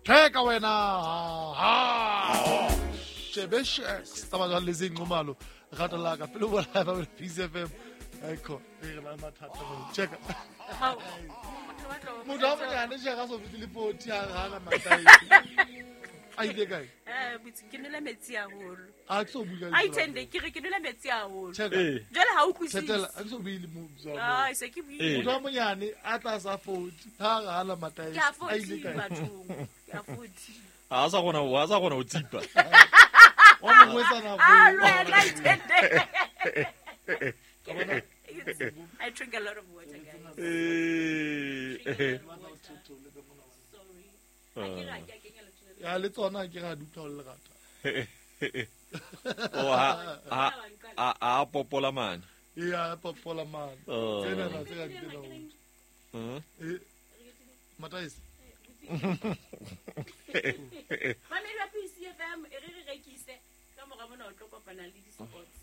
Theka wena ha shebe sheks tsa batho le seng nqomalo rata la ka pele bona ba Peace FM eko e re ba mathata mo cheka motho a monyane cheka so fitile 40 ha hana matai a ile kae eh botse ke nwele metsi haholo a ke so bula a ithende ke re ke nwele metsi haholo cheka jwale ha o utlwisise thetela a ke so buile mo ah se ke buile motho a monyane a tla sa 40 ha hana matai ke a a ile 40 kae bathong ke a 40 a sa gona a sa gona o tsipa wa mongwetsana ah lwena ithende I drink a lot of water guys Eh, sorry ha ke re ha ke a kenya letho le ya le tsona ke ga di utlwa ho le lerata o ha a a popola mane ya popola mane Oh. tsena tse ka tsena ho Mm. eh mataisi Mamedi wa PCFM e re re rekise ka mora mona o tlo kopana le di-sports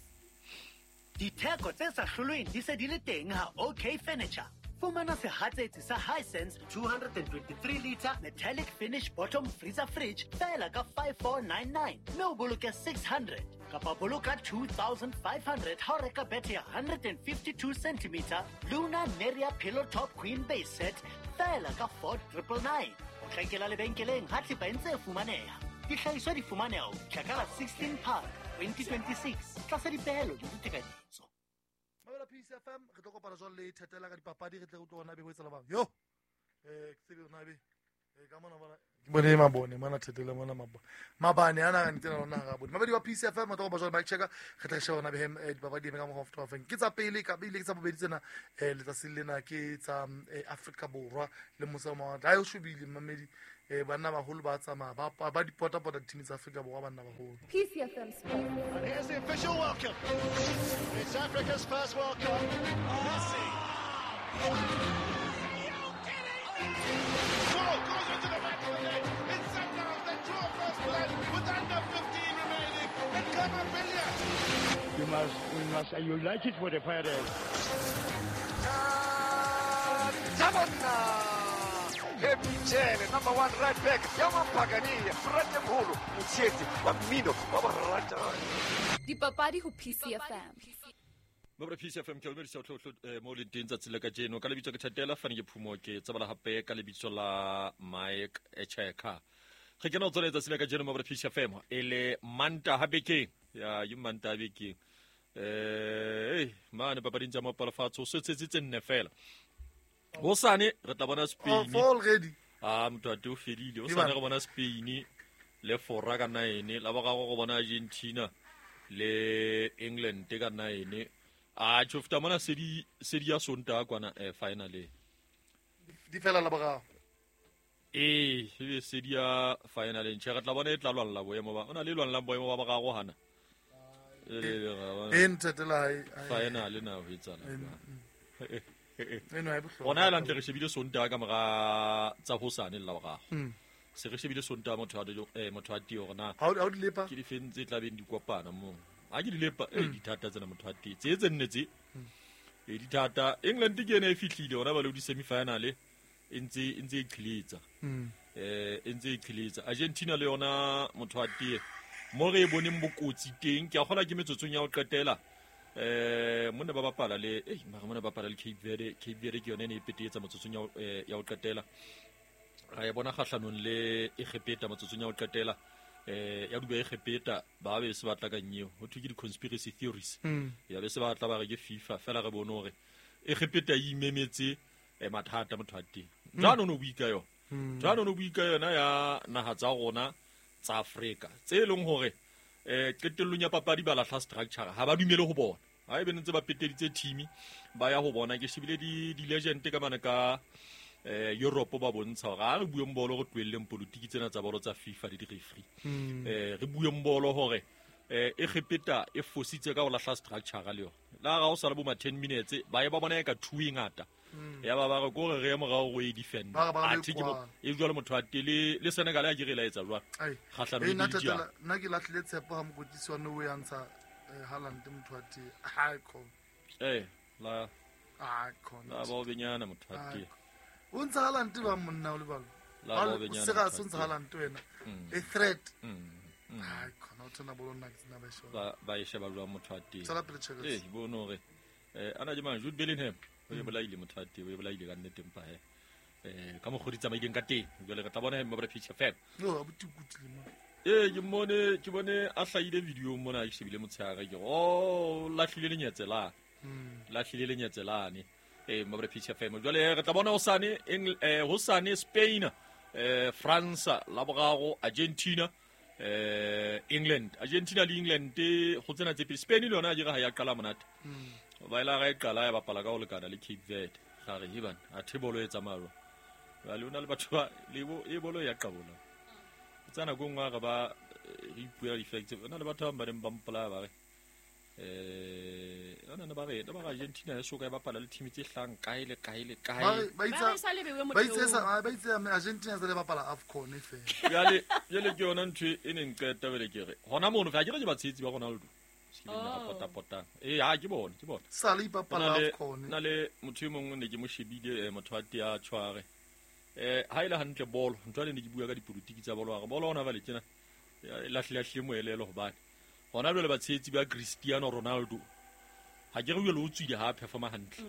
Ditheko tse sa hlolweng di se di le teng ha OK Furniture. Fumana sehatsetsi sa Hisense 223 liter metallic finish bottom freezer fridge feela ka 5499 mme o boloke 600 kapa boloka 2500 ha o reka bethe ya 152 centimeter Luna Neria Pillow Top Queen Base Set feela ka 4999. O tlakela lebenkeleng ha thepa e ntse e fumaneha. Dihlahiswa di fumaneha ho fihla ka la 16 Phato 2026 tlasa dipehelo le ditekanyetso. Mamela Peace FM re tlo kopana jwale le thetela ka dipapadi re tle re utlwe hore na be ho etsahala bang yo eh ke tsebe hore na be eh ka mona bona ke bone mabone mona thetela mona mabone mabane ana ka ntena lona ga bone mabedi wa Peace FM re tlo kopana jwale Mike Checker re tle re shebe hore na be hem dipapadi eme ka mokgwa o feng ke tsa pele ka bile ke tsa bobedi tsena eh letsatsi lena ke tsa Afrika Borwa le mose wa mawatle ha e shobile mamedi eh banna baholo ba tsamaya ba ba dipota pota di-team tsa Afrika Borwa banna baholo PCFM Sports. And here's the official welcome. It's Africa's first World Cup. Messi. Ball goes into the back of the net. It's Sundowns that draw first blood with under 15 remaining. And Kamavilia. You must, you like it for the pirates. Happy number one right back, ya Mapagania, Frate Mholo, motshehetsi wa mmino wa boratani. Dipapadi ho PCFM. Mabra Peace FM ke o dumedisa tlotlo mo leng teng tsatsi la kajeno ka lebitso ke Thatela fane ke phumo ke tsebala hape ka lebitso la Mike Echeka re kena ho tsona letsatsi la kajeno Mabra Peace FM e le Mantaha bekeng ya ye Mantaha bekeng eh mane papading tsa mopalafatso o setsetse tse nne fela hosane re tla bona oh Spain four already a motho ate o fedile o Ke sane bana. re bona Spain le Fora ka 9 la boraro go bona Argentina le England ka 9 a tjho feta mona se di ya Sontaha kwana finale di fela la boraro ee ebe se di ya finale ntjhe re tla bona e tla lwanela boemo ba o na le lwanelang boemo ba boraro hana e nthetela ha finale na ho etsahala jwang? eno ha e bohlokwa Rona ela ntle re shebile Sontaha ka mora tsa hosane le la boraro se re shebile Sontaha motho a motho a tee hore na ha o di lepa ke difeng tse tlabeng di kopana moo ha ke di lepa e dithata tsena motho a tee tse tse nne tse e dithata England ke ena e fihlile hona ba le di semi-final e ntse e qhiletsa e ntse e qhiletsa Argentina le yona motho a tee mo re e boneng bokotsi teng ke a kgola ke metsotsong ya ho qetela monna ba bapala le ei mara mona ba bapala le Cape Verde Cape Verde ke yone e ne e petetsa metsotsong ya ho qetela ra e bona kgahlanong le Egepeta metsotsong ya ho qetela ya duba Egepeta ba be se batla ka nyeo ho thwe ke di-conspiracy theories ya be se batla ba re ke FIFA fela re bone hore Egepeta e imemetse mathata motho a teng jwale o no bui ka yona jwale o no bui ka yona ya naha tsa rona tsa Afrika tse e leng hore qetellong ya papadi ba lahla structure ha ba dumele ho bona ha ebe ntse ba peteditse team ba ya ho bona ke shebile di legend ka mane ka Europe ba bontsha hore ha re bueng bolo re tlohelleng politiki tsena tsa bolo tsa FIFA le di-referee re bueng bolo hore Egepeta e fositse ka ho lahla structure le yona la ga o sa le bo ma 10 minutes ba ye ba bona e ka two e ngata ya ba ba re ko re re ye morao go e defend Ba re ba re athe ke mo kwala. e jwale motho a tele le Senegal ya ke re laetsa jwang Ai. kgahlano Eh, le nna Belgium Thatela, nna ke lahlile tshepo ha mokwetlisi wa Norway a ntsha Haaland motho wa tee ha khona la ha khona la ba o benyana motho a tee o ntsha Haaland ba monna o le balo La bobenyana. Se ga se ntse Haaland wena. A threat. Ai khona o tsena bolo nna ke tsena ba sheba. Ba e sheba jwang motho wa teng. Tsela pele Checkers. Eh bono hore ana je mang Jude Bellingham o e bolaile motho wa teng, o e bolaile ka nnete mpa he. Ka mokgwa di tsamaileng ka teng. Jwale re tla bona he mabra Peach FM. No abuti kutile mo. Ke mmone ke bone a hlahile video mona ke shebile motshehare ke oh lahlile lenyetse la. Lahlile lenyetse lane. Mabra Peach FM. Jwale re tla bona hosane hosane Spain, France, la boraro Argentina, England. Argentina le England go tsena tse pedi. Spain le yona a dire ha ya qala monate. Ba ila ga e qala ya bapala ka ho lekana le Cape Verde. Ga re heban a thebolo e tsamaya jwang. Jwale o na le batho ba le bo e bolo ya qabola. Tsa nako nngwe re ba re ipuela di-facts. Ho na le batho ba bang ba neng ba mpolaya ba re ona ne ba re Argentina e so ka e bapala le team tse hlahang kae le kae le kae. Ba Ba re sa lebewe ba itse Argentina se le bapala AFCON e fela. Jwale ke yona ntho e neng qeta bele ke re hona mono fa ke re ke batshehetsi ba Ronaldo. Se ke nna pota potang. Ha ke bone ke bone. Sa le ipapala AFCON. Na le motho e mongwe ne ke mo shebile motho wa tea tshware. Ha ile hantle bolo ntho le ne ke bua ka dipolitiki tsa bolo hore bolo ona ba le tjena lahle moelelo hobane hona jwale batshehetsi ba Cristiano Ronaldo ha ke re jwale o tswile ha performa hantle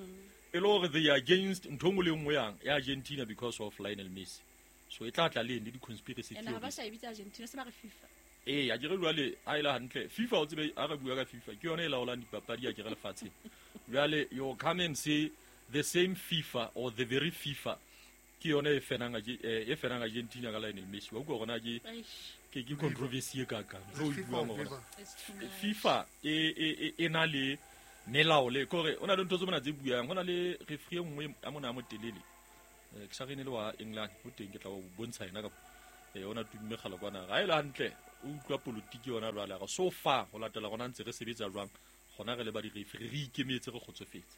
e le hore they are against ntho nngwe le nngwe yang ya Argentina because of Lionel Messi, so e tla tla le eng le di-conspiracy Ene ha ba theories. sa e bitsa Argentina se ba re FIFA. Ha ke re jwale ha ile hantle FIFA o tsebe ha re bua ka FIFA ke yona e laolang dipapadi ya ke re lefatsheng. Jwale you come and say the same FIFA or the very FIFA ke yona e fenang e fenang Argentina ka Lionel Messi. Wa utlwa hore na ke ke controversy e kakang. Ntho e buang hore FIFA e na le melao le kore o na le ntho tse mona tse buang. Ho na le referee e nngwe a mona a motelele. Ke sa re ne le wa England ho teng ke tla o bontsha yena ka ona tumme kgale kwana. Ha e le hantle o utlwa politiki yona jwale re so far ho latela rona ntse re sebetsa jwang gona re le ba di referee re ikemetse re kgotsofetse.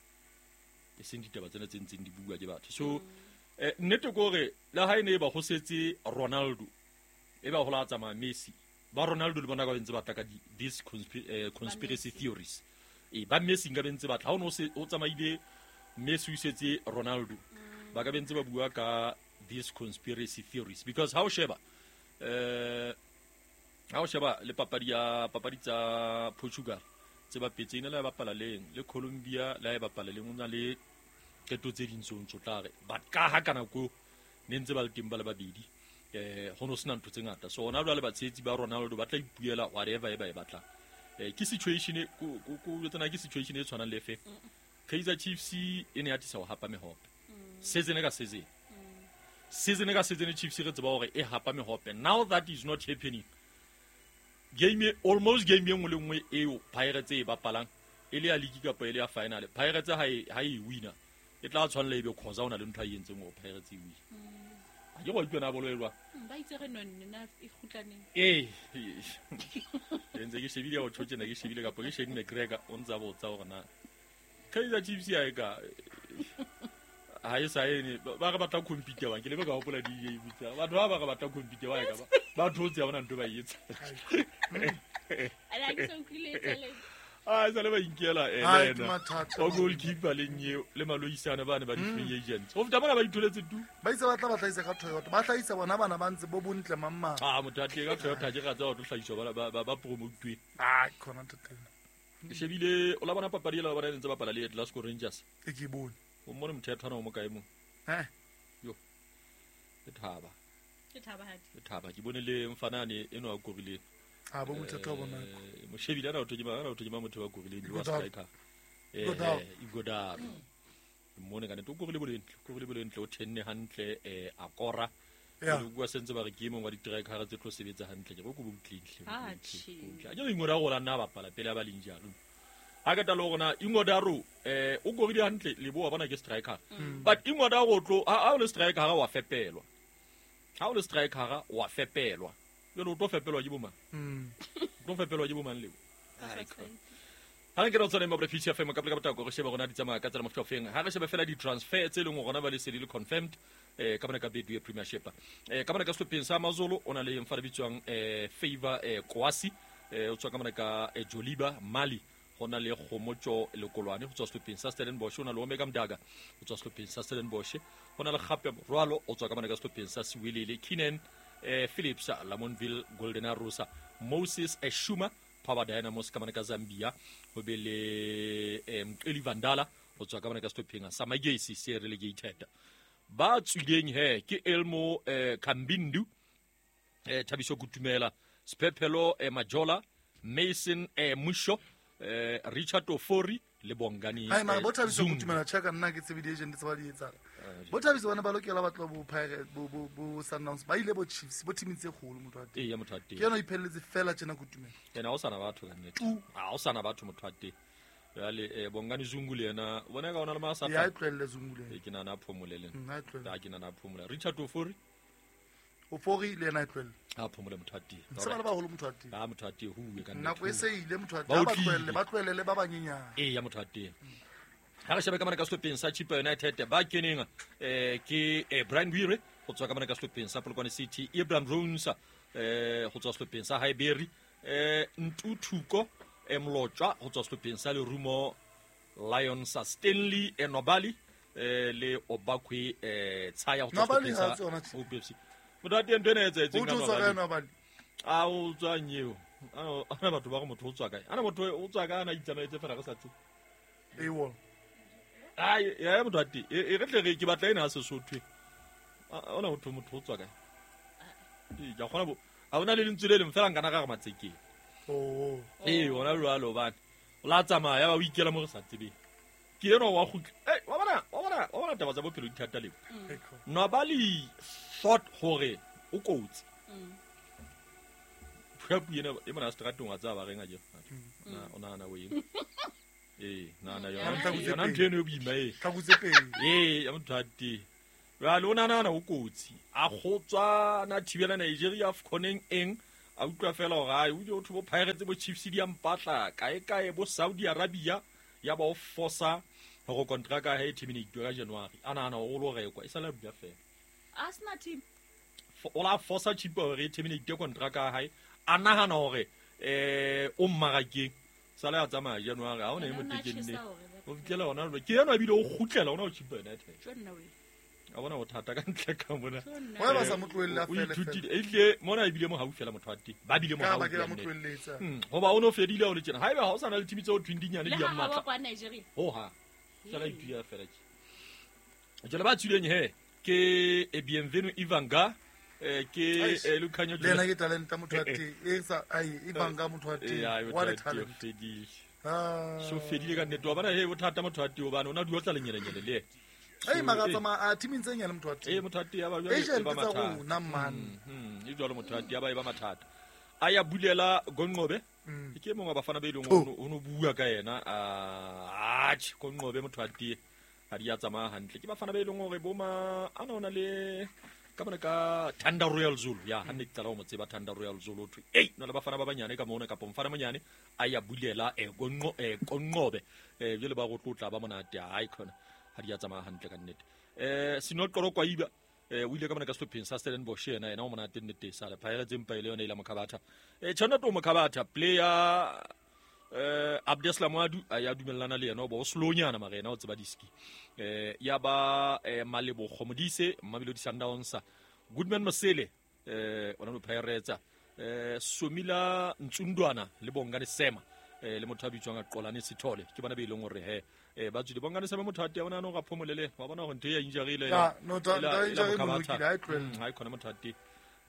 E seng ditaba tsena tse ntseng di bua ke batho. So nnete ke hore le ha e ne e ba ho setse Ronaldo e ba hola tsamaya Messi ba Ronaldo le bona ka ntse batla ka these conspiracy theories. Ba Messi nka bentse batla ha o no se o tsamaile Messi o setse Ronaldo ba ka bentse ba bua ka these conspiracy theories because ha o sheba le papadi ya papadi tsa Portugal tse bapetse ene la bapala leng le Colombia la e bapala leng o na le qeto tse ding tseo tla re but ka ha kana ko ne ntse ba le teng ba le babedi ho no sena ntho tse ngata. So hona jwale batshehetsi ba Ronaldo ba tla ipuela whatever e ba e batlang. Ke situation ko tsena ke situation e tshwanang le fe Kaizer Chiefs e ne atisa ho hapa mehope season ka season. Season ka season Chiefs re tseba hore e hapa mehope. Now that is not happening. Game almost game e nngwe le nngwe eo Pirates e bapalang e le ya league kapa e le ya final Pirates ha e winner e tla tshwanela ebe cause ona le ntho a e entseng hore Pirates e win. Ha ke go utlwa bolo e jwang. Ba itse re nonne na e kgutlaneng. Ntse ke shebile ho tjho tjena ke shebile kapa ke Shane McGregor o ntsa botsa hore na Kaizer Chiefs ya e ka ha e sa ene ba re batla compete bang ke le ka hopola DJ bitsa batho ba re batla compete ba e ka ba thotse ya bona ntho ba e etsa. Ala ke so utlwile tsele. Ah sa le ba inkela ena o goalkeeper le nyeo le maloisana bana ba di free agents. Ho feta bana ba itholetse tu. Ba itse ba tla ba hlaisa ka Toyota. Ba hlaisa bona bana ba ntse bo bontle mamma. Ah motho a tle ka Toyota ke ra tsa ho hlaiswa ba promote. Ah khona ntate. Ke shebile o la bona papadi la bona ntse ba bapala le Glasgow Rangers. E ke bone. O mmone motho ya tshwana o mo kae mo? Yo. Le thaba. Ke thaba hadi. Le thaba ke bone le mfanane eno a korileng. A bo motho wa bona. Moshebile ana o thojima motho wa korileng wa striker. Igodaro. Mmone kana to korile bolentle o tenne hantle a kora. Le bua sentse ba re ke mong wa di-striker tse tlo sebetsa hantle ke go go butlentle. A ke Ighodaro la nna bapala pele ba leng jalo. Ha ke talo rona Ighodaro o korile hantle le bo wa bona ke striker. But Ighodaro tlo ha o le striker ha wa fepelwa. Ha o le striker wa fepelwa. Jwale o tlo fepelwa ke bomang? O tlo fepelwa ke bomang leo? Ha re ke re tsone mo Peace FM ka pele ka botako re shebe rona di tsamaya ka tsela mofuta ofeng. Ha re shebe fela di-transfer tse leng hore rona ba le se di le confirmed ka bona ka Betway Premiership. Ka bona ka sehlopheng sa Amazulu o na le mfana bitswang Favor Kwasi o tswa ka bona ka Joliba Mali. Go na le Kgomotso Lekolwane go tswa sehlopheng sa Stellenbosch, ho na le Omega Mdaka go tswa sehlopheng sa Stellenbosch, ho na le gape Morwalo o tswa ka mane ka sehlopheng sa Siwelele, Keenan Phillips Lamontville Golden Arrows, Moses Eshuma Power Dynamos ka mane ka Zambia, ho be le Mqeli Vandala go tswa ka mane ka sehlopheng sa Magesi se relegated. Ba tswileng he ke Elmo Kambindu, Thabiso Kutumela, Sphephelo Majola, Mason Musho, Richard Ofori le Bongani. Hai mara bo Thabiso Kutumela cheka nna ke tsebe di-agent tse ba di etsang. Bo Thabiso bana ba lokela ba tloha bo Pirates, bo Sundowns, ba ile bo Chiefs, bo team tse kgolo motho wa teng. Ee, ya motho wa teng. Ke yena o ipheletse fela tjena Kutumela. Yena ha o sana batho ka nnete. Tu. Ha o sana batho motho wa teng. Jwale Bongani Zungu le yena, o bona ka ona le ma sa Ya e tlohelle Zungu le yena. Ee, ke nahana a phomole le nna. Ha e tlohelle. Ha ke nahana a phomole. Richard Ofori. Ofori le yena e tlohelle. Ha phomole motho wa teng. Se ba le baholo motho wa teng. Ha motho wa teng, ho uwe ka nnete. Nako e se ile motho wa teng. Ba Ha ba otlile. tlohelle, ba tlohelle le ba banyenyane. Ee, ya motho wa teng. Ha re shebe ka mane ka sehlopheng sa Chippa United ba keneng ke Brian Wire go tswa ka mane ka sehlopheng sa Polokwane City, Abraham Jones go tswa sehlopheng sa Highbury, Ntuthuko Mlotshwa go tswa sehlopheng sa Lerumo Lions, Stanley Nobali le Obakwe Tshaya go tswa Nobali sehlopheng ha sa tsona tje. Hope FC. Motho wa teng ntho ena e etsahetseng O ka tlo tswa kae Nobali? Nobali? A o tswang eo? Ana batho ba re motho o tswa kae? Ana motho o tswa kae? Ana itsamaetse fela re sa tsebe. Ewol. Ai, ya motho wa teng. E re tle re ke batla ena ha Sesotho. Ona motho o tswa kae? Ee, ke a kgona bo. Ha ona le lentswe le leng fela nkana ka re matsekeng. Oh. Ee, ona jwalo hobane. O la tsamaya ya ba o ikela mo re sa tsebeng. Ke enwa wa kgutla. Ei, wa bona taba tsa bophelo di thata leo. Nobali thought hore o kotsi. Phuapu ena e mona seterateng wa tseba ba reng a je. Na o nahana o eng? Ee, nahana yona. Yona ntho eno e boima e. Tlhaku tse pedi. Ee, ya motho a teng. Jwale o nahana o kotsi. A kgotswa na thibela Nigeria AFCON-eng eng. A utlwa fela hore ai, o ile ho thwe bo Pirates bo Chiefs di a mpatla kae kae bo Saudi Arabia ya ba o fosa hore kontraka ya hae e terminate ka January. A nahana hore o lo rekwa, e sale a dula fela. A sena team. O la fosa Chippa hore e terminate kontraka ya hae. A nahana hore o mmarakeng. Sale a tsamaya January, ha ona e Yena o na motekenne. tjhesa hore ba O fihlela hona jwale. Ke enwa ebile o kgutlela hona ho Chippa United. Tjo nna wena. A bona bothata ka ntle ka mona. Tjo nna Why ba sa mo tlohelle a O fele ithutile. fela? Ehlile mona ebile mo haufi fela motho wa teng. Ba bile mo Ka ba haufi ke ba mo ya nnete. tlohelletse. Hoba o no fedile ha o le tjena. Haeba ha o sa na le team tseo thweng dinyane Le di a ha ha wa mmatla. kwa Nigeria. Ho ha. Fela ituya fela tje. Jwale ba tswileng he ke Bienvenu Ivanga, ke Eish. Lukhanyo Le yena ke talent motho wa teng. E sa ai Ivanga motho wa teng. Eh, ai, motho What a wa teng, talent. fedile. Ah. So fedile ka nnete wa bona he bothata motho wa teng hobane o na di otla lenyelenyele le yena. Ei, mara So, tsamaya a teaming tse nyane motho wa teng. Eh, motho wa teng ya ba jwale e Agent ba tsa mathata. rona, man. E jwalo motho wa teng ya ba e ba mathata. A ya bulela Gonqobe. Ke e mongwe wa bafana ba e leng hore o no bua ka yena. Atjhe, Gonqobe motho wa teng ha di a tsamaya hantle. Ke bafana ba e leng hore bo ma ana ona le ka mona ka Thunder Royal Zulu. Ya, ha ne ke qala ho mo tseba Thunder Royal Zulu, ho thwe, ei, na le bafana ba banyane ka mona kapa mfana monyane a ya bulela Gonqobe. Jwale ba go tlotla ba monate. Hai khona ha di a tsamaya hantle ka nnete. Sinoqolo Kwaiba, o ile ka mona ka sehlopheng sa Stellenbosch yena, yena o monate nnete sale. Pirates empa e le yona e ile Mokhabatha. Tjhanato Mokhabatha, player Abdeslam Adu, a ya dumellana le yena, o ba o slownyana mara yena o tseba diski. Ya ba Malebogo Modise, Mamelodi Sundowns, Goodman Mosele, ona no Pirates, Somila Ntsundwana le Bongani Sema, le motho a bitswang a Qolane Sithole, ke bona be e leng hore he, ba tswile. Bongani Sema motho a teng, ona no ga phomolele, wa bona hore ntho e ya injury ile Ya, no, ela ta injury e Mokhabatha. bolokile, ha e tlohelle. Ha e khona motho a teng.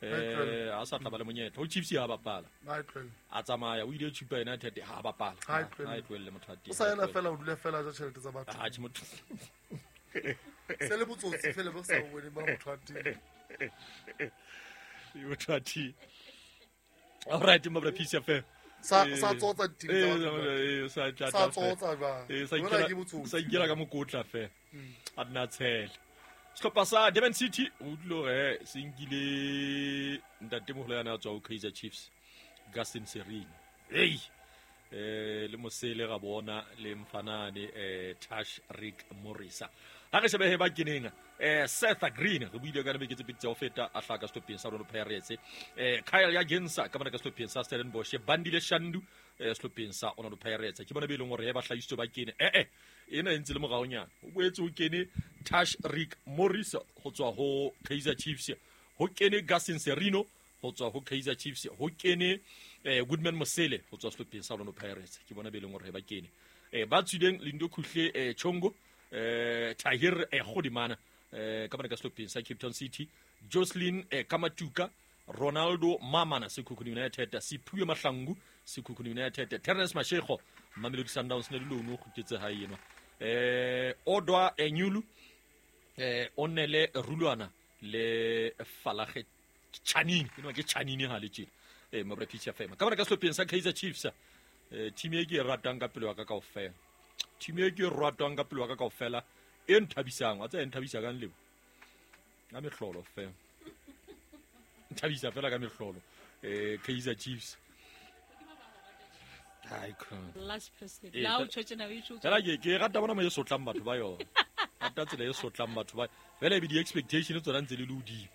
Ha e tlohelle. Ha sa tla ba le monyetla. Ho Chiefs ya bapala. Ha e tlohelle. A tsamaya, o ile Chippa United ha bapala. Ha e tlohelle. Ha e tlohelle motho a teng. O sa ela fela, o dula fela ja tjhelete tsa batho. Ha, tjhe, motho. Se le botsotsi fela bo sa bone ba motho a teng. Motho a teng. All right, Mabra Peace FM. Sa tsotsa di-team tsa batho ba. Sa tla Sa tla fela. tsotsa jwang? Sa Jwale ikela ke botsotsi. sa ikela ka mokotla fela. A nna tshele. Sehlopha sa Durban City o utlwile hore se nkile ntatemoholo yana a tswa ho Kaizer Chiefs, Gaston Sirino. Hey! Le Mosele ga bona le Mfanane, Tash Rick Morisa. Ha re shebe he ba keneng Seth Green re buile ka beke tse pedi tsa ho feta a hlaka sehlopheng sa Orlando Pirates. Kyle Yagensa ka mona ka sehlopheng sa Stellenbosch, Bandile Shandu sehlopheng sa Orlando Pirates. Ke bona be leng hore he ba hlahisitswe ba kene. Ena e ntse le moraonyana. O boetse ho kene Tash Rick Morris ho tswa ho Kaizer Chiefs. Ho kene Gassin Serino ho tswa ho Kaizer Chiefs. Ho kene Goodman Mosele ho tswa sehlopheng sa Orlando Pirates. Ke bona be leng hore ba kene. Ba tswileng Lindo Khuhle Chongo, Tahir Godimana ka mona ka sehlopheng sa Cape Town City, Jocelyn Kamatuka, Ronaldo Mamana Sekhukhune United, Siphiwe Mahlangu Sekhukhune United, Terence Mashego Mamelodi Sundowns ne le loan o kgutletse hae enwa. Odwa Enyulu, Onele Rulwana le Falage Chanini, enwa ke Chanini ha le tjena. Mabra Pitch FM. Ka mona ka sehlopheng sa Kaizer Chiefs, team e ke e ratang ka pelo ya ka kaofela. Team e ke e ratang ka pelo ya ka kaofela e nthabisang, wa tseba e nthabisa kang lebo? Ka mehlolo fela. Nthabisa fela ka mehlolo. Kaizer Chiefs. Ai khona. Last person. La o tjho tjena o itjho. Fela ke rata bona mo e sotlang batho ba yona. Rata tsela e sotlang batho ba. Fela e be di-expectation tsona ntse le le hodimo.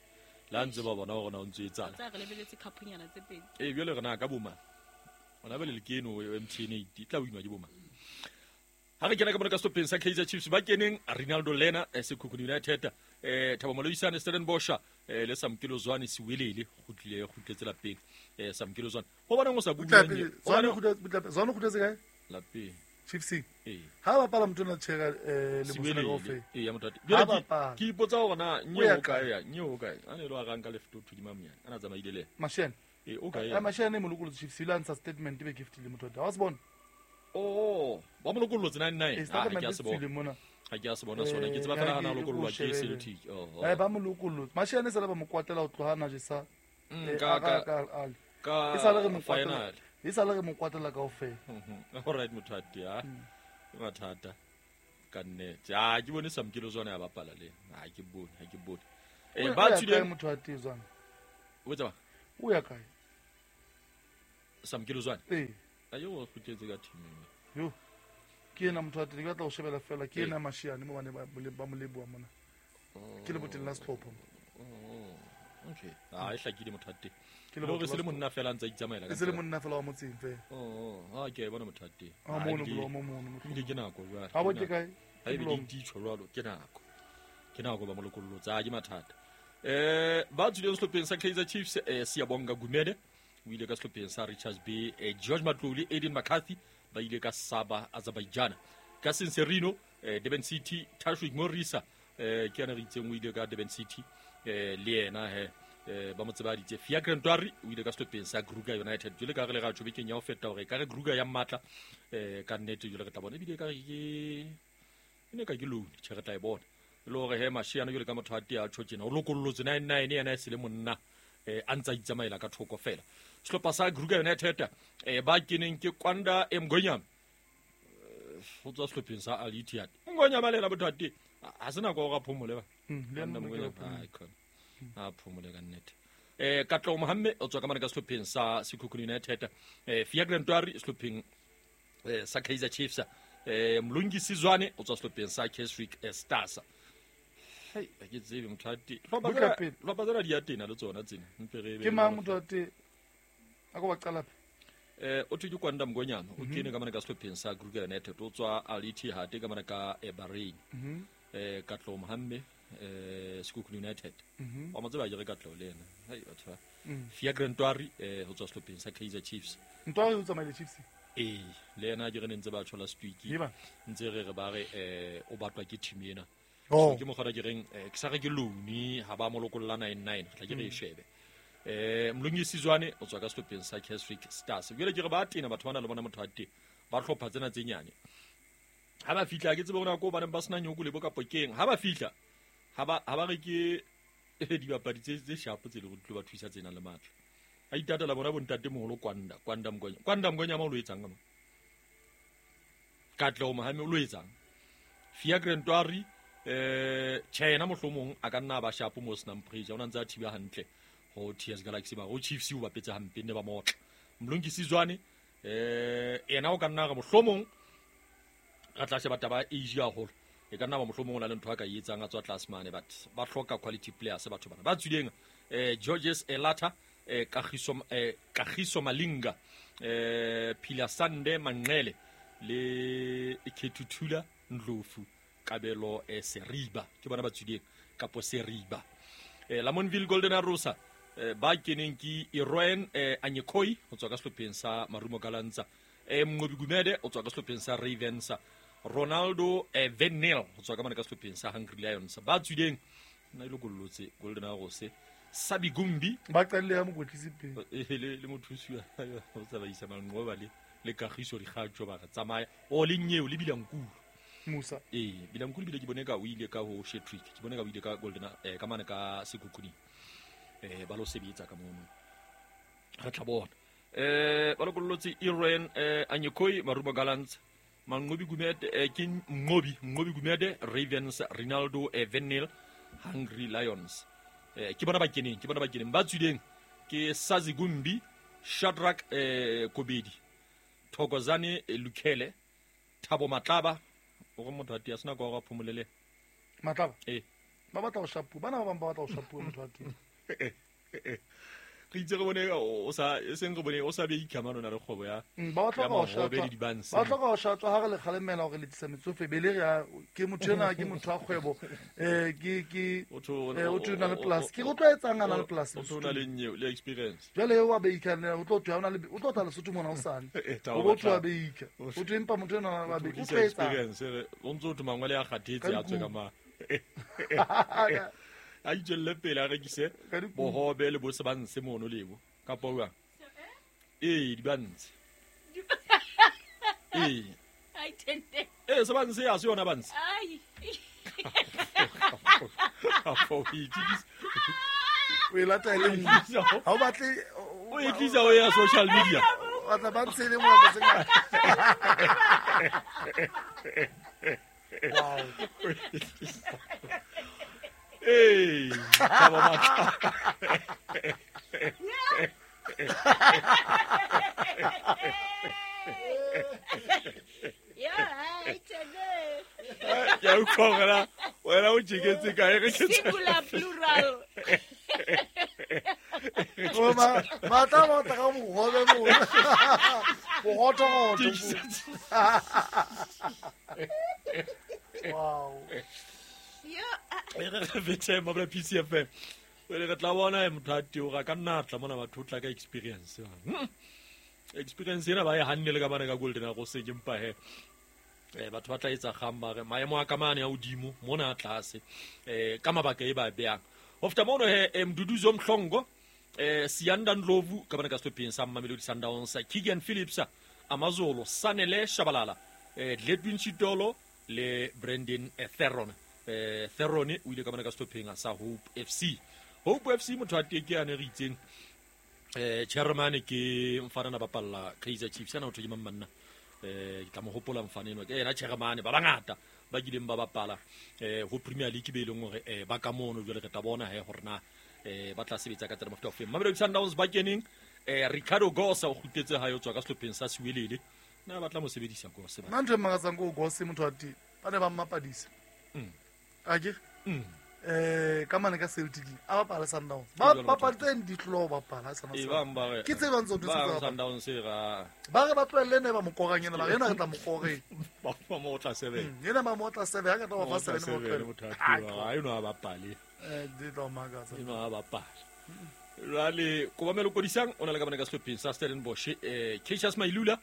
La ntse ba bona hore na o ntse etsang. Tsa re lebeletse cup-nyana tse pedi. Jwale re na ka boma. Ona bele le keno MTN 8 e tla winwa ke boma. Ha re kena ka mona ka sehlopheng sa Kaizer Chiefs ba keneng Rinaldo Lena Sekhukhune United, Thabo Moloisane Stellenbosch, le Samkelo Zwane Siwelele kgutlile kgutletse lapeng. Samkelo Zwane ho bonang o sa bua Zwane Zwane kgutletse kae? Lapeng. Chiefs. Ha ba bapala motho na tshera le Mosele kaofela. Ya motho. Jwale ke ipotsa hore na nye o kae ya, nye o kae. A ne lo a ranka left to di mamnyana. Ana tsamaile le. Mashene. O kae? Mashene mo lokolotse Chiefs ile a ntsha statement be gift le motho. Ha o se bona? Oh, ba mo lokollotse 99. Ha ke a se bona. Ha ke a se bona sona. Ke tseba fela hana lokollwa ke Celtic. Oh. Ba mo lokollotse. Mashene sala ba mo kwatela ho tloha na jesa. Ka e sala re mo kwatela. E sala re mo kwatela kaofela. All right motho a mathata. Ka nnete. Ah, ke bone Samkelo Zwane ya bapala le. Ha ke bone. Ba tswile motho a tee Zwane. O tseba? O ya kae? Samkelo Zwane. A yo o kgutletse ka team. Yo. Ke ena motho a teng, ke batla ho shebela fela, ke ena Mashiane mo bane ba mo leboha mona. Ke le boteng la sehlopha. Okay. Ah, e hlakile motho a teng. Ke le se le monna fela ntse a itsamaela ka. Se le monna fela wa motseng fela. Ah, ke bona motho a teng. Ah, mono bolo mo mono motho. Ke nako jwale. Ha bo ke kae? Ha e be di tjho jwalo, ke nako. Ke nako ba molokollotsa, ke mathata. Ba tswileng sehlopheng sa Kaizer Chiefs, Siyabonga Gumede o ile ka sehlopheng sa Richards Bay, George Matlou Aiden McCarthy ba ile ka Saba Azerbaijan. Ka Senserino, Durban City, Tashwick Morisa, ke yana re itseng o ile ka Durban City, le yena he ba mo tsebaditse. Fiacre Ntwari o ile ka sehlopheng sa Kruger United. Jwale ka re le ra tjho bekeng ya ho feta hore ka re Kruger ya matla, ka nnete jwale re tla bona ebile ka re ke ne ka ke loan, tjhe re tla e bona. Le hore he Mashiane jwale ka motho a tea tjho tjena o lokollotse 99 yena e se le monna, a ntsa itsamaela ka thoko fela. Sehlopha sa Kruger United, ba keneng ke Kwanda Mngonyama ho tswa sehlopheng sa Al Ittihad. Mngonyama le yena motho a teng ha se nako ya hore a phomole ba. Le a phomole ka nnete. Katleho Mohamme o tswa ka mane ka sehlopheng sa Sekhukhune United, Fiacre Ntwari sehlopheng sa Kaizer Chiefs, Mlungisi Zwane o tswa sehlopheng sa Keswick Stars. Hei, ha ke tsebe motho a teng. Hlopha tsena di ya tena le tsona tsena. Mpe re Ke mang motho a teng? A ko ba qala pele. O thwe ke Kwanda Mngonyama, o kene ka mane ka sehlopheng sa Kruger United, o tswa Al Ittihad ka mane ka Bahrain. Katleho Mohamme, Sekhukhune United. Wa mo tseba ke re Katleho le yena. Hei batho ba. Fiacre Ntwari, ho tswa sehlopheng sa Kaizer Chiefs. Ntwari o tsamaile Chiefs? Le yena ke re ne ntse ba tshola Stwiki. Ntse re re ba re o batlwa ke team ena. So ke mokgwa ke reng ke sa re ke loan ha ba mo lokolla 99 re tla ke re e shebe. Mlungisi Zwane o tswa ka sehlopheng sa Keswick Stars. Jwale ke re ba tena batho bana le bona motho a teng ba hlopha tsena tse nyane. Ha ba fihla ke tsebe hore na ko baneng ba sena nyoko le bo kapo keng. Ha ba fihla ha ba re ke dibapadi tse sharp tse le go tlo ba thusa tsena le matla. A itatela bona bontate moholo Kwanda Mngonyama. Kwanda Mngonyama o lo etsang ka mo? Katleho Mohamme o lo etsang? Fiacre Ntwari, China mohlomong a ka nna ba sharp mo senang pressure, o na ntse a thiba hantle ho TS Galaxy ba ho Chiefs o bapetse hampe ne ba motla. Mlungisi Zwane, ena o ka nna re mohlomong re tla sheba taba ya age haholo. E ka nna ba mohlomong o na le ntho a ka e etsang a tswa tlase mane, but ba hloka quality players batho bana ba tswileng. Georges Elata, Kagiso Malinga, Philasande Manqele le Khethuthula Ndlovu, Kabelo Seriba, ke bona ba tswileng kapo Seriba. Lamontville Golden Arrows, ba keneng ke Iroen Anyekoi ho tswa ka sehlopheng sa Marumo Gallants, Mnqobi Gumede o tswa ka sehlopheng sa Ravens, Ronaldo Venel ho tswa ka mane ka sehlopheng sa Hungry Lions. Ba tswileng nna ile kollotse Golden Arrows, Sabi Gumbi ba qadile ya mokwetlisi pele le mothusi wa ho tsamaisa Manqoba le Kagiso Dikgatjo ba re tsamaya o le nyeo le Bilankulu Musa. Bilankulu bile ke bone ka o ile ka ho Shetrick, ke bone ka o ile ka Golden ka mane ka Sekhukhune. Ba lo sebetsa ka mono, re tla bona. Ba lokollotse Iren Anyekoi, Marumo Gallants, Manqobi Gumede, ke Mnqobi Gumede, Ravens, Ronaldo Venel, Hungry Lions. Ke bona ba keneng. Ba tswileng ke Sazi Gumbi, Shadrack Kobedi, Thokozane Lukhele, Thabo Matlaba. O re motho a tia sena kwa go phomolele Matlaba. Ba batla go shapu, bana ba bang ba batla go shapu motho a tia. Re itse re bone o sa e seng re bone o sa be ikamano na le kgwebo ya ba batla go shapa ba tla go shapa ha re le kgalemela hore le tlisa metsofe bele re ke motho ena ke motho wa kgwebo ke o tho na le plus ke go tlwaetsang ana le plus o tho na le nyeo le experience jwale wa beika o tlo twa ona le o tlo tla Lesotho mona o sane o bo twa beika o tlo empa motho ena wa beika o tlwaetsa experience o ntso tho mangwele a kgathetse a tswe ka ma a itswelle pele a rekise bohobe le bo se ba ntshe mono lebo kapa jwang. Di ba ntshe. Se ba ntshe ya se yona ba ntshe. O e lata e le nngwe. Ha o batle o e tlisa o ya social media. O tla ba ntshe le mo tse ngata. Wow. Thabo Matlaba. Ke a utlwa hore wena o tjeketse kae re ke singular plural. Matlaba o tla ka bohobe mo. Bohotogotho. Wow. E re fethe mabla PCFM. Re tla bona motho a teo ka nna tla mona batho tla ka experience. Experience ena ba e hanne le ka bana ka Golden Arrows ke mpa he. Batho ba tla etsa kgang ba re maemo a kamane ya hodimo mona a tlase. Ka mabaka e ba beang. Ho feta mono he Mduduzo Mhlongo, Siyanda Ndlovu ka bana ka sehlopheng sa Mamelodi Sundowns, Keegan Phillips, Amazolo, Sanele Shabalala, Ledwin Chitolo le Brandon Theron. Theron o ile ka bana ka sehlopheng sa Hope FC. Hope FC motho a teng ke ane re itseng chairman ke mfana na bapalla Kaizer Chiefs ana o thwe ke mang manna. Ke tla mo hopola mfana eno ke yena chairman ba bangata ba kileng ba bapala ho Premier League be leng hore ba ka mono jwale re tla bona he hore na ba tla sebetsa ka tsela mofuta ofeng. Mamelodi Sundowns ba keneng Ricardo Gosa o kgutletse hae o tswa ka sehlopheng sa Siwelele. Na ba tla mo sebedisa Gosa ba. Nna ntho e makatsang ke o Gosa motho a teng ba ne ba mmapadisa. Ake ka mane ka Celtic a bapala Sundowns ba bapaditse ditlo ba bapala Sundowns ke tse bang tsotse tsa Sundowns ra ba re ba tlohelle ne ba mo korang ena ba rena re tla mo koreng ba mo otla seven yena ba mo otla seven ha ka tla ba fa seven mo tlohelle ha eno a bapale di tla makatsa eno a bapale jwale Kobamelo Kodisang o na le ka mane ka sehlopheng sa Stellenbosch, Cassius Mailula,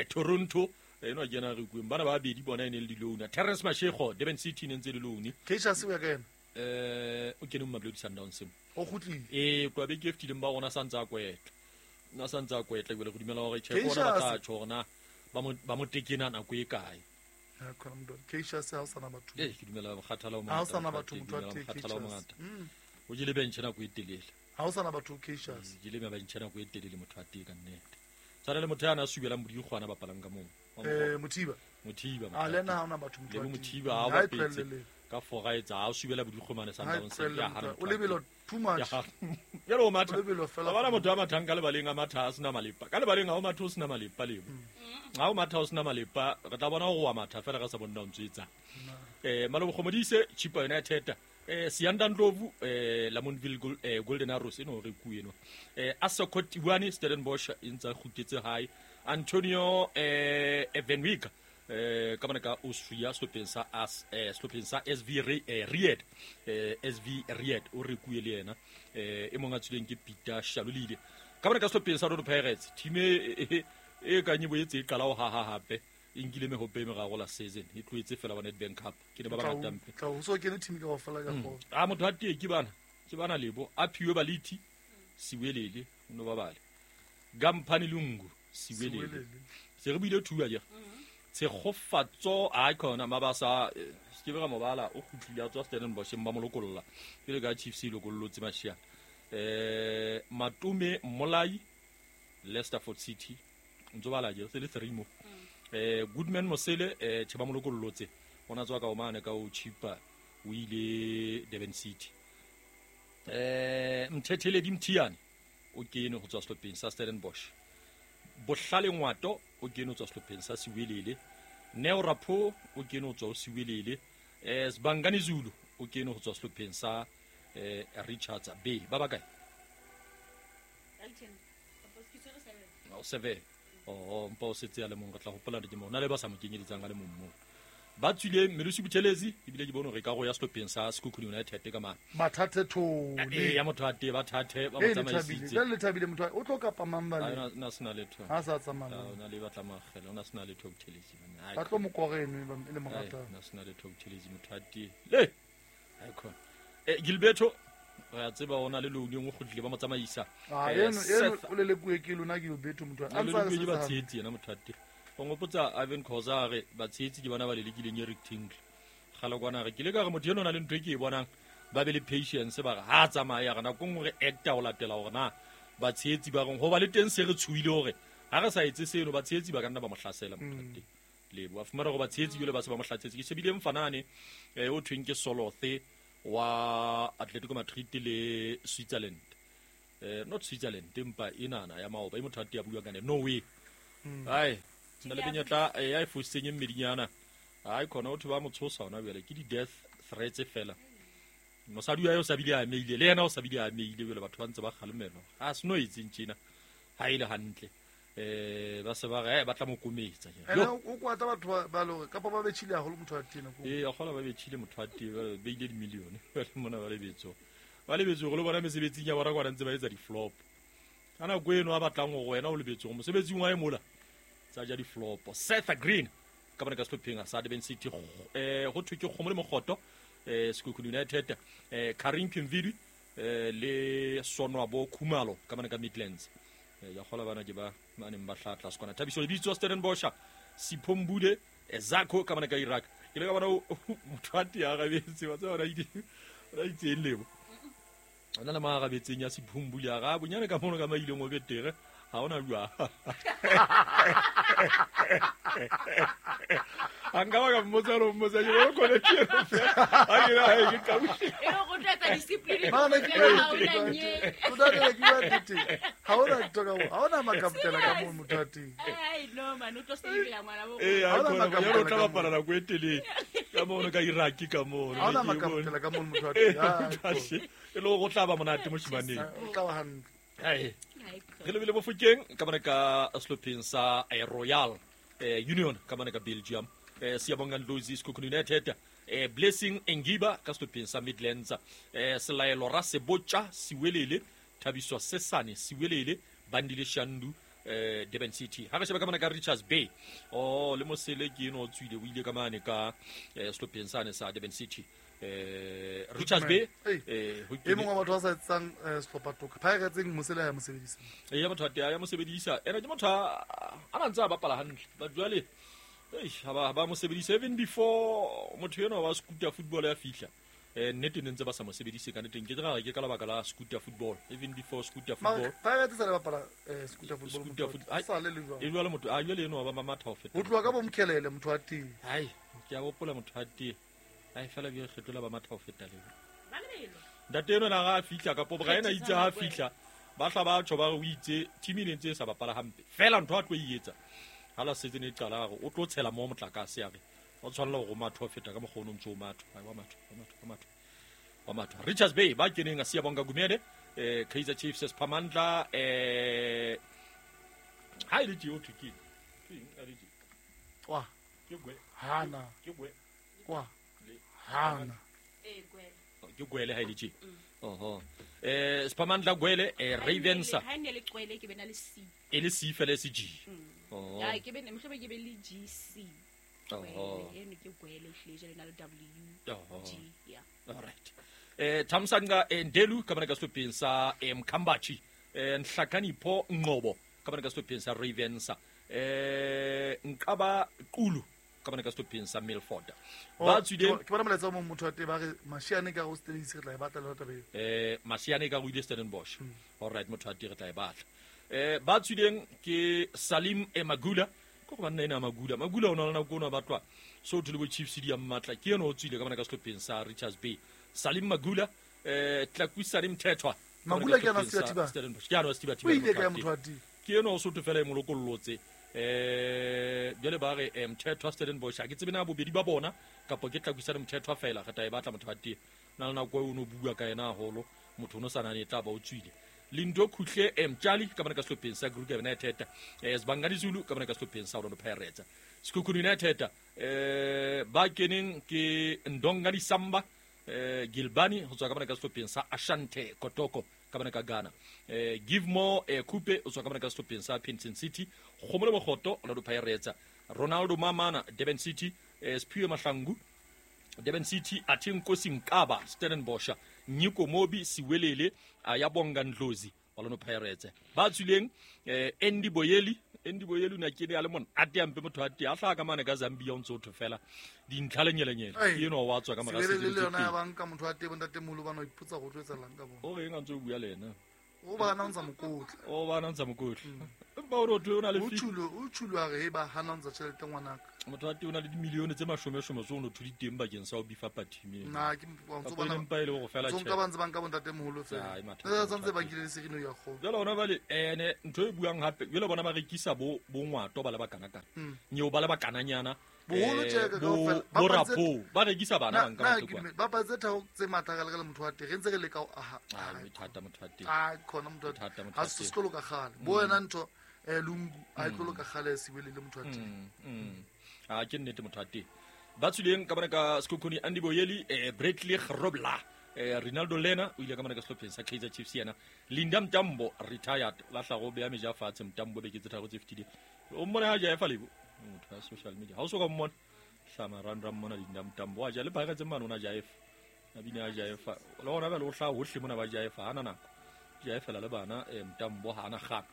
Toronto eno a kena re kueng bana ba babedi bona e ne le di-loan. Terence Mashego Durban City ne ntse le loan. Cassius o ya ka ena o kene mo Mamelodi Sundowns mo o kgutlile tloa beke e fetileng ba rona sa ntse a kwetla na sa ntse a kwetla ebile go dumela hore tjhe bona ba tla tjho hore na ba mo tekena nako e kae. Cassius ha o sana batho ke dumela mokgathala o mongata ha o sana batho motho a teng mokgathala o mongata o jele bench nako e telele ha o sana batho Cassius jele bench nako e telele motho a teng ka nnete tshwana le motho ya na subelang bodikgwana bapalang ka moo Mothiba a lena ha ona batho motho le Mothiba ha ba petse ka fora etsa ha o subela bodikgomane Sundowns ya hana o lebelo too much jalo o matha ba bana motho a mathang ka lebaleng a matha a sena malepa ka lebaleng ha o matha o sena malepa lebo ha o matha o sena malepa re tla bona gore wa matha fela re sa bonna o ntse etsa. Malobo Modise Chippa United, Sianda Ndlovu, Lamontville Golden Arrows eno re ku eno, Asoko Tiwane Stellenbosch e ntse a kgutletse hae, Antonio Evenwick ka mona ka Austria sehlopheng sa sehlopheng sa SV Ried, SV Ried o re kuwe le yena, e mong a tswileng ke Peter Shalulile ka mona ka sehlopheng sa Orlando Pirates. Team e kang e boetse e qala ho haha hape, e nkile mehope e meraro la season, e tlohetse fela wa Nedbank Cup ke ne ba bangata mpe. Tla o so kene team kaofela ka kgona. A motho a tee ke bana lebo a phiwe Baliti Siwelele no ba bale Gamphani Lungu Siwelele se re buile thuwa je Tshegofatso a khona mabasa se ke ba mobala o kgutlile a tswa Stellenbosch ba mo lokolla pele ka Chiefs e lokollotse Mashia. Matume Molai Leicesterford City ntse bala je se le 3 mo. Goodman Mosele che ba mo lokollotse ona tswa ka o mane ka o Chippa o ile Durban City. Mthetheledi Mthiane o kene ho tswa sehlopheng sa Stellenbosch. Bohlale Ngwato o kene ho tswa sehlopheng sa Siwelele. Neo Rapho o kene ho tswa ho Siwelele. Sibangani Zulu o kene ho tswa sehlopheng sa Richards Bay. Ba bakae? O 7. Oh, mpa o setse a le mong re tla hopola ke mo. Na le ba sa mo kenyeletsang a le mong moo. Ba tswile Melusi Buthelezi ebile ke bone hore ka go ya sehlopheng sa Sekhukhune United ka mane. Mathathe thole. Ya motho a tee ba thathe ba mo tsamaisitse. Le thabile motho o tlo kapa mang ba le. Na sena letho. Ha sa tsamaya. Na le batla magela, ona sena letho Buthelezi. Ba tlo mo koreno e le morata. Na sena letho Buthelezi motho a tee. Le. Ai khona. Gilberto re a tseba ona le loan e nngwe kgutlile ba mo tsamaisa. Eno o le lekuwe ke lona Gilberto motho a ntsa se ba tshehetsi yena motho a tee. Ngopotsa Ivan Khoza re batshehetsi ke bona ba lelekileng Eric Tinkle. Gala kwana re ke le ka re motho eno na le ntho e ke e bonang ba be le patience ba re ha tsamaya re nako nngwe re acta ho latela hore na batshehetsi ba reng ho ba le teng se re tshohile hore ha re sa etse seno batshehetsi ba ka nna ba mo hlasela motho a teng. Lebo a fumana hore batshehetsi jwale ba se ba mo hlasetse. Ke shebile Mfanane o thweng ke Solothe wa Atletico Madrid le Switzerland. Not Switzerland empa enana ya maoba e motho a teng a bua ka Norway. Ai na le benyetla ya e fositseng e mmedinyana. Ai khona o thwe ba mo tshosa hona jwale ke di-death threats fela. Mosadi wa hae o sa bile a ameile le yena o sa bile a ameile jwale batho ba ntse ba kgalemelwa. Ha se no etseng tjena ha e le hantle. Ba se ba re ba tla mo kometsa. Ene o kwata batho ba le hore kapa ba betjhile haholo motho wa tena ko. A kgola ba betjhile motho wa teng ba beile dimilione ba le mona ba lebetso. Ba lebetso hore le bona mesebetsing ya bona kwana ntse ba etsa di-flop. Ka nako eno a batlang hore wena o lebetse hore mosebetsing wa hae mola tsa ja di-flop. Seth Green ka bona ka sehlopheng sa Durban City ho thwe ke kgomo le mokgoto Sekhukhune United, Karim Kimvidi le Sonwabo Khumalo ka bona ka Midlands. Ya kgola bana ke ba neng ba hlatla sekwana. Thabiso Lebitso Stellenbosch, Sipho Mbule Zako ka bona ka Iraq. Ke le ka bona motho a teng a rabetse wa tseba ona itseng lebo. Ona le marabetseng ya Sipho Mbule a ra bonyane ka mono ka maileng o betere. Ha ona jwa. A nka ba ka mmotsa lo mmotsa ke bona kone ke eno fela. Ha ke na hae ke qabuhle. E re go tla etsa discipline. Mane ke ha ona nye. O tla ke bua nnete. Ha ona ntho ka mo. Ha ona makaptela ka mo motho a teng. Ai no man o tlo sebela ngwana bo. Ha ona makaptela o tla bapala nako e telele. Ka mono ka Iraq ka mono. Ha ona makaptela ka mo motho a teng. E le go tla ba monate moshimaneng. O tla ba hantle. Ai. Re lebile Bofokeng ka bona ka sehlopheng sa Royal Union ka bona ka Belgium. Siyabonga Ndlozi Sekhukhune United, Blessing Engiba ka sehlopheng sa Midlands, Selaelo Rasebotja Siwelele, Thabiso Sesane Siwelele, Bandile Shandu Durban City. Ha re sheba ka mona ka Richards Bay. Oh le Mosele ke eno o tswile o ile ka mane ka sehlopheng sane sa Durban City. Richards Bay e mongwe wa batho ba sa etsang sehlopha toka Pirates Mosele ya mo sebedisa. Ya motho a ya mo sebedisa. Ena ke motho a ntse a bapala hantle. Ba jwale ha ba mo sebedisa even before motho eno wa scooter football ya fihla. Nnete ne ntse ba sa mo sebedise ka nnete ke re ke ka lebaka la scooter football even before scooter football. Pirates sa le bapala scooter football motho sa le le jwang. E jwale motho a jwale eno ba matha ho feta. Ho tloha ka bo Mkhelele motho a teng. Hai ke a hopola motho a teng. Ai fela bi kgethola ba matha ho feta le. Ntate eno na ga fihla ka pobra ena itse ha fihla ba hla ba tjho ba re o itse team e ntse e sa bapala hampe. Fela ntho a tlo e etsa. Ha la setse ne qala re o tlo tshela mo motlakase ya re O tshwanela go matho feta ka mokgwa o ntse o matho. Wa matho, wa matho, wa matho. Wa matho. Richards Bay ba keneng a Siyabonga Gumede, Kaizer Chiefs Sphamandla ha ile tjeo thwe ke eng a le Kwa. Ke gwe. Hana. Ke gwe. Kwa. Hana. Gwele. Ke gwele ha ile tje. Oho. Sphamandla Gwele Ravens. Ha ne le gwele ke bena le C. E le C fela se G. Oh. Ya ke bene mhlobo ke be le G C. Oh. Eno ke gwele hle jale na le W. Oh. G yeah. All right. Thamsanqa Ndelu ka bana ka sehlopheng sa Mkhambathi. Nhlakanipho Ngqobo ka bana ka sehlopheng sa Ravens. Nkaba Qulu ka bana ka sehlopheng sa Milford. Ba tswileng ke bona molaetsa o mong motho wa teng ba re Mashiane ka go Stellies re tla e batla le taba eo. Mashiane ka go ile Stellenbosch. All right motho wa teng re tla e batla. Ba tswileng ke Salim Emagula ko go banna ena Magula. Magula o na le nako o na batlwa so thole bo Chiefs di ya mmatla ke ena o tswile ka bana ka sehlopheng sa Richards Bay. Salim Magula Tlakusane Mthethwa. Magula ke ana Setiba. Stellenbosch. Ke ana Setiba. O ile ka motho wa teng. Ke ena o sotho fela e molokollotse. Jwale ba re Mthethwa Stellenbosch a ke tsebe na bobedi ba bona kapa ke Tlakusane Mthethwa fela re tla e batla motho wa teng. Na le nako o no bua ka yena haholo motho o no sa nane tla ba o tswile. Lindo Khuhle Mtshali ka bana ka sehlopheng sa Kruger United. Sibangani Zulu ka bana ka sehlopheng sa Orlando Pirates. Sekhukhune United ba keneng ke Ndongani Samba Gilbani ho tswa ka bana ka sehlopheng sa Ashante Kotoko ka bana ka Ghana. Give More Kupe o tswa ka bana ka sehlopheng sa Pinton City. Kgomole Mokgoto Orlando Pirates. Ronaldo Mamana Durban City. Siphiwe Mahlangu Durban City. Athenkosi Mkaba Stellenbosch. Nyiko Mobi Siwelele Ayabonga Ndlozi Orlando Pirates. Ba tswileng Andy Boyeli. Andy Boyeli una ke a le mona a te ampe motho a te a hlaha ka mane ka Zambia o ntse o thwe fela dintlha le nyelenyele ke eno wa tswa ka mora se le yona ya banka motho a te bontate molo bana o ipotsa go tloetsalang ka bona o reng a ntse o bua le ena o ba na ntsa mokotla o ba na ntsa mokotla empa o re o na le o tshulo a re ba hana ntsa tjhelete ngwanaka motho a te o na le dimilione tse mashome-shome tse o no thodi teng bakeng sa ho bifa party na ke ntse bona empa ile go fela tjhelete ba ntse ba nka bontate moholo fela tsa ntse ba nkile le serino ya kgo jwale ona bale ene ntho e buang hape jwale bona ba rekisa bo bongwato ba le bakanakana nyeo ba le bakananyana boholo tjeka kaofela bo rapo ba rekisa bana ba nka motho ba patse thao tse matla ka le motho wa teng re ntse re leka ho aha thata motho wa teng a khona motho ha se sekolo ka kgale bo wena ntho Lungu a tlolo ka kgale Siwele le motho wa teng a ke nnete motho wa teng ba tswileng ka bana ka Sekhukhune Andy Boyeli Bradley Grobler Ronaldo Lena o ile ka bana ka sehlopheng sa Kaizer Chiefs yena Linda Mtambo retired la hlago beya meja fatshe Mtambo beke tse tharo tse fetileng o mmone ha jaefa lebo motho ya social media ha o so ka mmona hlama randra mmona Linda Mtambo a ja le Pirates mane ona jaefa a bina a jaefa le ona ba le o hlaha hohle mona ba jaefa hana nako jaefela le bana Mtambo hana kgang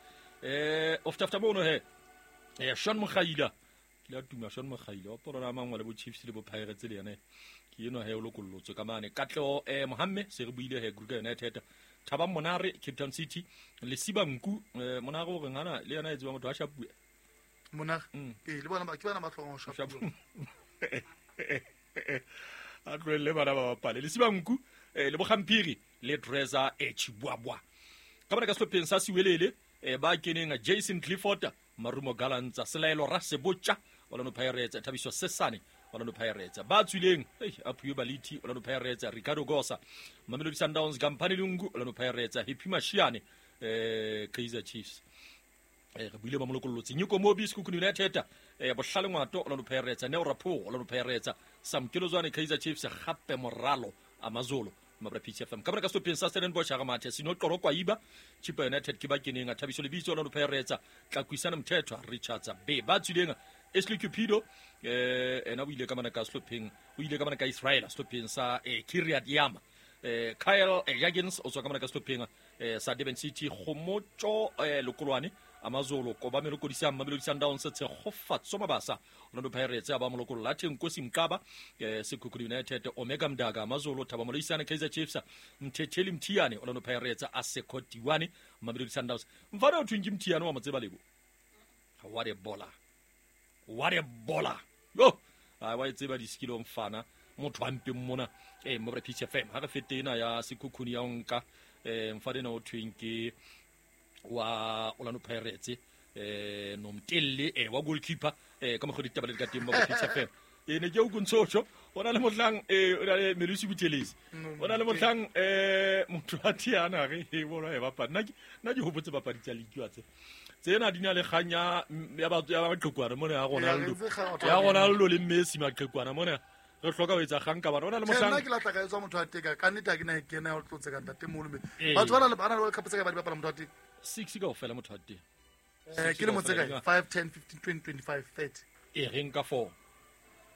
ofta mono he Sean Mokgaila ke la tuma Sean Mokgaila o porona mangwa le bo Chiefs le bo Pirates le yena ke eno he o lokollotse ka mane Katleho Mohamme se re buile he Kruger United Thabang Monare Cape Town City Lesiba Nku Monare o reng hana le yena e tseba motho a shapuwe Monare le bona ba ke bana ba tlhokang ho shapuwa a tlohelle bana ba bapale Lesiba Nku le Bogamphiri le Dreza Chibuabua ka bana ka sehlopheng sa Siwelele ba keneng Jason Clifford Marumo Gallants Selaelo Rasebotja Orlando Pirates Thabiso Sesane Orlando Pirates ba tswileng Aphiwe Baliti Orlando Pirates Ricardo Gosa Mamelodi Sundowns Kampani Lungu Orlando Pirates Happy Mashiane Kaizer Chiefs re buile ba molokollotse Nyiko Mobi Sekhukhune United Bohlale Ngwato Orlando Pirates Neo Rapoo Orlando Pirates Samkelo Zwane Kaizer Chiefs Gape Moralo Amazulu Mabra PCFM ka bana ka sehlopheng sa Stellenbosch ga mathe Sino Qoro Kwaiba Chippa United ke ba keneng Thabiso Lebitso Orlando Pirates Tlakuisana Mthethwa Richards Bay ba tswileng Ashley Cupido ena o ile ka bana ka sehlopheng o ile ka bana ka Israel sehlopheng sa Kiryat Yama Kyle Jagins o tswa ka bana ka sehlopheng sa Durban City Kgomotso Lokolwane Amazulu Kobamelo Kodisang Mamelodi Sundowns Tshegofatso Mabasa Orlando Pirates ba molokolola Thenkosi Mkaba Sekhukhune United Omega Mdaka Amazulu Thabo Moloisane Kaizer Chiefs Mthetheli Mthiyane Orlando Pirates Asekho Tiwane Mamelodi Sundowns mfana o thweng ke Mthiyane wa motseba lebo what a baller what a baller yo a wa tseba diskilo mfana motho wa mpeng mona mo PCFM ha re fete ena ya Sekhukhune ya nka mfana ena o thweng ke wa Orlando Pirates Nomtelle wa goalkeeper ka mokgwa ditaba le ka teng mo PCFM E ne ke o kuntsocho o na le mohlang o na le Melusi Buthelezi o na le mohlang motho a thiana re e bona e bapala nna ke hopotse papadi tsa league wa tse tsena di na le kgang ya batho ya maqhekwana mona ya Ronaldo ya Ronaldo le Messi maqhekwana mona re hloka ho etsa kgang ka bana o na le mohlang nna ke latla ka etswa motho a teka ka nnete ha ke na kena ya tlotse ka ntate moholo me batho ba na le bana le World Cup tse ka ba di bapala motho a teng 6 kaofela motho a teng ke le motse kae 5 10 15 20 25 30 e reng ka 4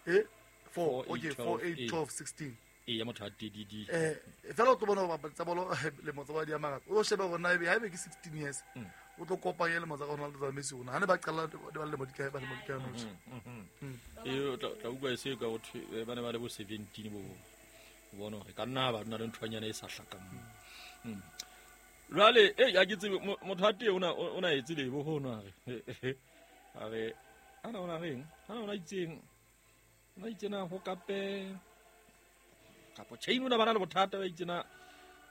4 okay 4 8 12 16 e ya motho a teng di fela o tlo bona ba tsa bolo le motsa ba di amaka o shebe bona ebe ha ebe ke 16 years o tlo kopanya le motsa Ronaldo tsa Messi ona ha ne ba qala ba le modika ba le modika no e o tla utlwa se ka o ba ne ba le bo 17 bo bona hore ka nna ba nna le nthwanyana e sa hlakang. Jwale ya ke tsebe motho a teng o na etse lebo ho nwa a re ana ona reng ana ona itseng ona itsena ho kape kapo chain ona bana le bothata ba itsena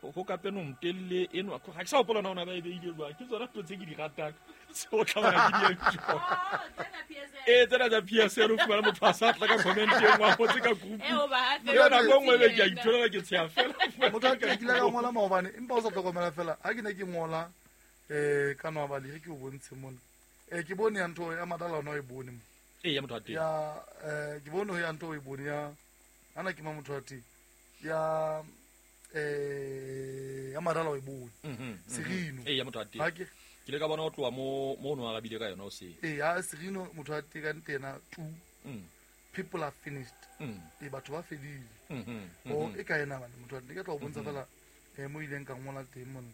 ho kape no mtelle eno ha ke sa hopola ona ba e beile jwang ke tsona ntho tse ke di ratang o tla bona ke di e tsena tsa PSL o fumana motho a sa tla ka comment e nngwe a ngotse ka group eo nako e nngwe be ke a itholela ke tsheha fela motho a ke kile ka ngola maobane empa o sa hlokomela fela ha ke ne ke ngola ka noabali ge ke o bontshe mona ke bone ya ntho ya madala ona o e bone mo ya motho a teng ya ke bone ya ntho o e bone ya ana ke ma motho a teng ya ya madala o e bone Serino ya motho a teng ke le ka bona o tloha mo no arabile ka yona o se ya Serino motho a teng ka ntena two people are finished batho ba fedile o e ka ena bana motho a teng ke tla o bontsha fela mo ileng ka ngola teng mona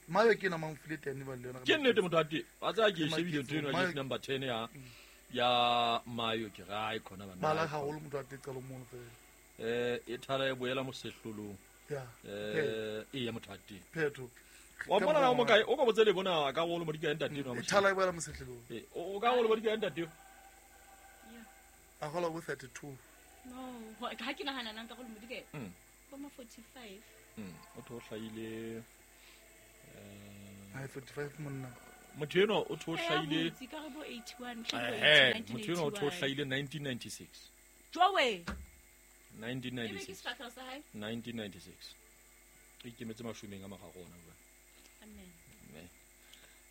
mayo ke na mang file teng ba le yona ke nnete motho a teng a tsa ke shebile ntho eno ya number 10 ya mayo ke ra e khona bana bala haholo motho a teng qalo mono fela e thara e boela mosehlolong ya ya motho a teng phetho wa mona na o mokae o ka botse le bona ka golo mo dikae ntate no e thala e boela mosehlolong o ka golo mo dikae ntate ya a gola bo 32 no ha ke nahana nang ka golo mo dikae bo ma 45 o tho hlaile ai 45 monna motho eno o tho hlaile ka re bo 81 motho eno o tho hlaile 1996 jowe 1996 1996 e ikemetse mashomeng a magago ona bua amen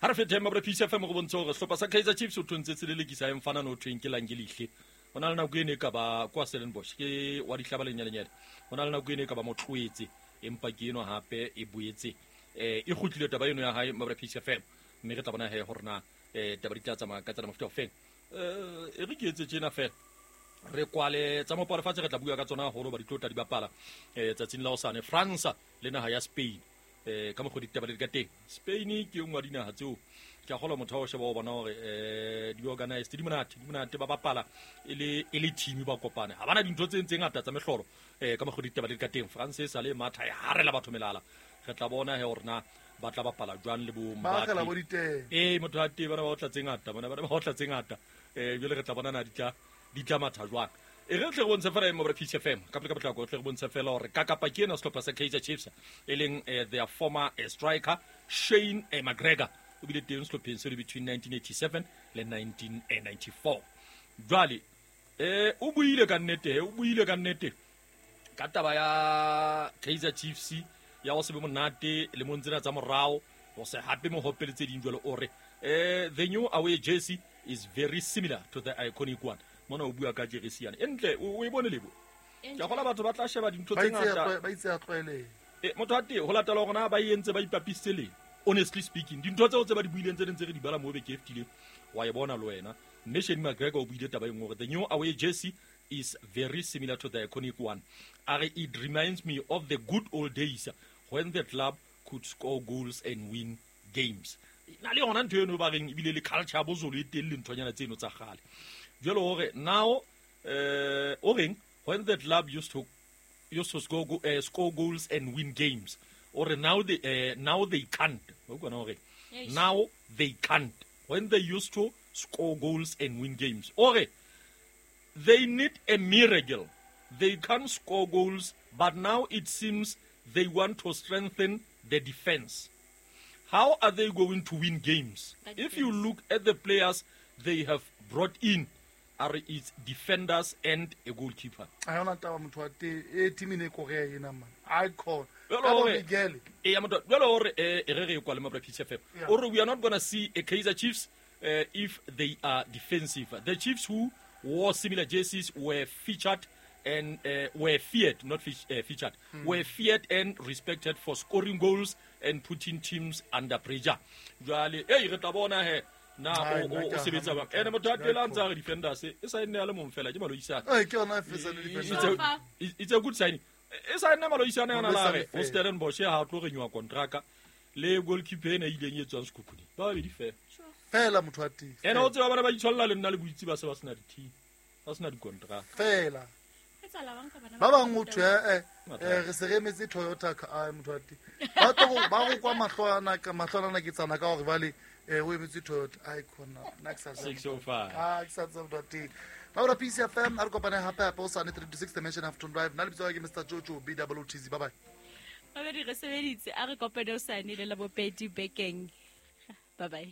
ha re fethe mabra Peace FM go bontsha hore sehlopha sa Kaizer Chiefs o thontse tselelekisa emfana no thweng ke Langelihle ho na le nako ene ka ba kwa Stellenbosch ke wa dihlaba lenyalenyane ho na le nako ene ka ba motloetse empa ke eno hape e boetse e kgutlile taba eno ya hae mabra Peace FM mme re tla bona he hore na taba di tla tsamaya ka tsela mofuta o feng e re ke etse tjena fela re kwale tsa mopalo fatshe re tla bua ka tsona haholo ba di tlo tla di bapala tsatsing la hosane France le naha ya Spain ka mokgwa ditaba di ka teng Spain ke nngwe ya dinaha tseo ke a kgolwa motho wa o sheba o bona hore di organized di monate ba bapala e le team ba kopane ha bana dintho tse tse ngata tsa mehlolo ka mokgwa ditaba di ka teng France e sale matha e harela batho melala re tla bona he hore na ba tla bapala jwang le bo Mbappe ba motho a teng bana ba otla tse ngata bona ba otla tse ngata jwale re tla bona na di tla matha jwang e re tle re bontshe fela mo Peace FM ka pele ka potlako tle re bontshe fela hore ka kapa ke ena sehlopha sa Kaizer Chiefs e leng their former striker Shane McGregor o bile teng sehlopheng seo between 1987 le 1994 jwale o buile ka nnete ka taba ya Kaizer Chiefs ya go se be monate le mo ntsena tsa morao go se hape mo hopele tse ding jwale o re the new away jersey is very similar to the iconic one mona o bua ka jersey yana entle o e bone lebo ke gola batho ba tla sheba dintho tse ngata ba itse a tlwaele motho a teng ho latela hore na ba entse ba ipapisitse le honestly speaking dintho tseo tse ba di buileng tse ding tse re di bala mo beke e fetileng wa e bona le wena mme Shane McGregor o buile taba e nngwe hore the new away jersey is very similar to the iconic one. It reminds me of the good old days when the club could score goals and win games. Na le yona ntho eno ba reng ebile le culture bo zolo e teng le nthonyana tseno tsa kgale. Jwale hore now o reng when the club used to score goals and win games or now they can't. Now they can't when they used to score goals and win games. Ore they need a miracle. They can't score goals, but now it seems they want to strengthen the defense. How are they going to win games? If you look at the players they have brought in, A re it's defenders and a goalkeeper. A yona taba motho wa teng e team e ne e korea ena man icon Jwale ka bo hore- Miguel. E ya motho jwale hore e re re e kwale mabra Peace FM. Yeah. O re we are not gonna see a Kaizer Chiefs if they are defensive. The Chiefs who wore similar jerseys were featured and were feared, not featured, were feared and respected for scoring goals and putting teams under pressure. Jwale, hey, re tla bona he na Ai, o nna o ke a sebetsa hana bang. Ene motho a motho. tela ntse a re defenders e sa nne a le mong fela ke Maloisane. Eh, ke yona e fetsa le It's defender. a, it's a good signing. E sa nna Maloisane ana la re Maloisane o fela. Stellenbosch ha tlo renewa kontraka le goalkeeper ena e ileng e tswang Sekhukhune. Ba babedi fela. Fela motho wa teng. Ene o tseba bana ba itshwalla le nna le boitse ba se ba sena di-team, ba sena dikontraka. Fela. Etsahala bang ka bana Ba bang motho eh Mathata. eh re se re emetse Toyota ka ai motho wa teng. Ba tlo ba go kwa mahlo ana ka mahlo ana ke tsana ka hore bale eh o emetse Toyota ai khona nna ke sa tsebe. 605. Ah, ke sa tsebe motho wa teng. Ba bora Peace FM a re kopane hape hape o sane 3 to 6 Dimension Afternoon Drive. Nna lebitso la ka ke Mr Jojo B double O T Z. Bye bye. Babedi re sebeditse a re kopane o sane le labobedi bekeng. Bye bye.